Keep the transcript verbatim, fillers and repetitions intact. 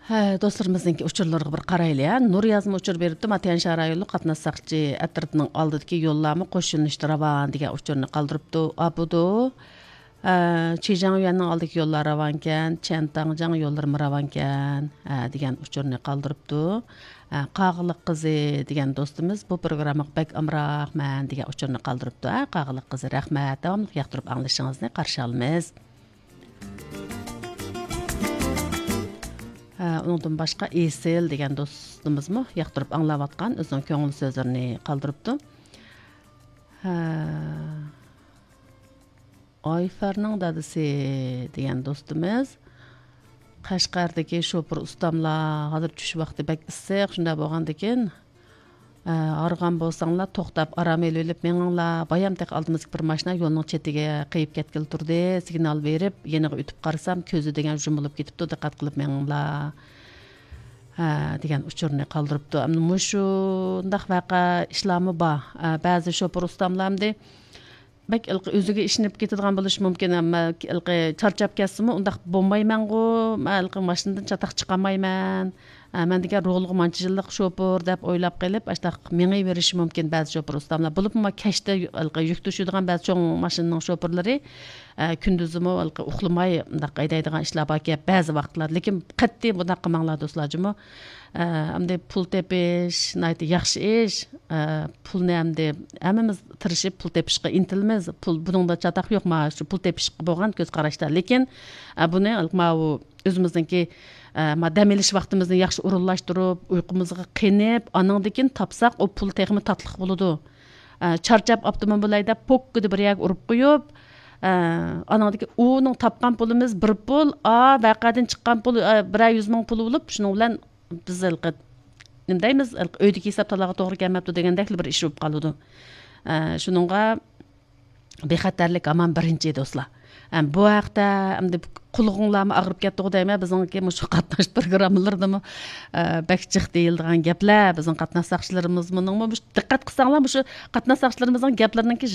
ھە، دوستلىرىمىزنىڭكى ئۇچۇرلىرىغا بىر قارايلى، ھە. نۇر يازما ئۇچۇر بېرىپتۇ، ما تيەنشان رايونلۇق قاتناش ساقچى ئەترىتىنىڭ ئالدىدىكى يوللارمۇ قوش يۆنىلىشتە راۋان دېگەن ئۇچۇرنى قالدۇرۇپتۇ. ئاپىدۇ. ھە، چىجاڭيۈەننىڭ ئالدىدىكى يوللار راۋانكەن، چيەنتاڭجاڭ يوللىرىمۇ راۋانكەن، ھە، دېگەن ئۇچۇرنى قالدۇرۇپتۇ. ھە، قاغىلىق قىزى دېگەن دوستىمىز بۇ پروگراممىغا بەك ئامراقمەن دېگەن ئۇچۇرنى قالدۇرۇپتۇ. ھە، قاغىلىق قىزى، رەھمەت، داۋاملىق ياقتۇرۇپ ئاڭلىشىڭىزنى قارشى ئالىمىز. ھە، ئۇنىڭدىن باشقا ئېسىل دېگەن دوستىمىزمۇ ياقتۇرۇپ ئاڭلاۋاتقان ئۆزىنىڭ كۆڭۈل سۆزلىرىنى قالدۇرۇپتۇ. ھە، ئايفەرنىڭ دادىسى دېگەن دوستىمىز، قەشقەردىكى شوپۇر ئۇستاملار، ھازىر چۈش ۋاقتى بەك ئىسسىق، شۇنداق بولغاندىكىن، ئە، ھارغان بولساڭلار، توختاپ ئارام ئېلىۋېلىپ مېڭىڭلار. بايام تېخى ئالدىمىزدىكى بىر ماشىنا يولنىڭ چېتىگە قېيىپ كەتكىلى تۇردى. سىگنال بېرىپ، يېنىغا ئۆتۈپ قارىسام، كۆزى دېگەن يۇمۇلۇپ كېتىپتۇ، دىققەت قىلىپ مېڭىڭلار، ھە، دېگەن ئۇچۇرنى قالدۇرۇپتۇ. ئەمدى مۇشۇنداق ۋەقە ئىشلارمۇ بار. ئە، بەزى شوپۇر ئۇستاملار ئەمدى بەك ھېلىقى ئۆزىگە ئىشىنىپ كېتىدىغان بولۇشى مۇمكىن، ئەمما ھېلىقى چارچاپ كەتسىمۇ، ئۇنداق بولمايمەنغۇ، مەن ھېلىقى ماشىنىدىن چاتاق چىقالمايمەن، ئە، مەن دېگەن رولغا مانچە يىللىق شوپۇر دەپ ئويلاپ قېلىپ، ئاشۇنداق مېڭىۋېرىشى مۇمكىن بەزى شوپۇر ئۇستاملار. بولۇپمۇ كەچتە ھېلىقى يۈك توشۇيدىغان بەزى چوڭ ماشىنىنىڭ شوپۇرلىرى، ئە، كۈندۈزىمۇ ھېلىقى ئۇخلىماي مۇنداق ھەيدەيدىغان ئىشلار باركەن بەزى ۋاقىتلاردا. لېكىن قەتئىي بۇنداق قىلماڭلار دوستلار جۇمۇ. ئە، ئەمدى پۇل تېپىش ناھايىتى ياخشى ئىش. ئە، پۇلنى ئەمدى ھەممىمىز تىرىشىپ پۇل تېپىشقا ئىنتىلىمىز. پۇل، بۇنىڭدا چاتاق يوق، مانا شۇ پۇل تېپىشقا بولغان كۆز قاراشتا. لېكىن، ئە، بۇنى ماۋۇ ئۆزىمىزنىڭكى، ئە، ما دەم ئېلىش ۋاقتىمىزنى ياخشى ئورۇنلاشتۇرۇپ، ئۇيقۇمىزغا قېنىپ، ئانىڭدىن كېيىن تاپساق، ئۇ پۇل تېخىمۇ تاتلىق بولىدۇ. ئە، چارچاپ ئاپتوموبىل ھەيدەپ، پوككىدە بىر يەرگە ئۇرۇپ قويۇپ، ئە، ئانىڭدىن كېيىن ئۇنىڭ تاپقان پۇلىمىز بىر پۇل، ئا، ۋەقەدىن چىققان پۇل، ئە، بىرەر يۈز مىڭ پۇل بولۇپ، شۇنىڭ بىلەن بىز ھېلىقى، نېمە دەيمىز، ھېلىقى ئۆيدىكى ھېساب تالاغا توغرا كەلمەپتۇ دېگەندەكلا بىر ئىش بولۇپ قالىدۇ. ئە، شۇنىڭغا بىخەتەرلىك ھامان بىرىنچى، دوستلار. ئە، بۇ ھەقتە ئەمدى قۇلىقىڭلارمۇ ئاغرىپ كەتتىغۇ دەيمەن، بىزنىڭكى مۇشۇ قاتناش پروگراممىلىرىدىمۇ، ئە، بەك جىق دېيىلىدىغان گەپلەر. بىزنىڭ قاتناش ساقچىلىرىمىزمۇنىڭمۇ مۇشۇ، دىققەت قىلساڭلار، مۇشۇ قاتناش ساقچىلىرىمىزنىڭ گەپلىرىنىڭكى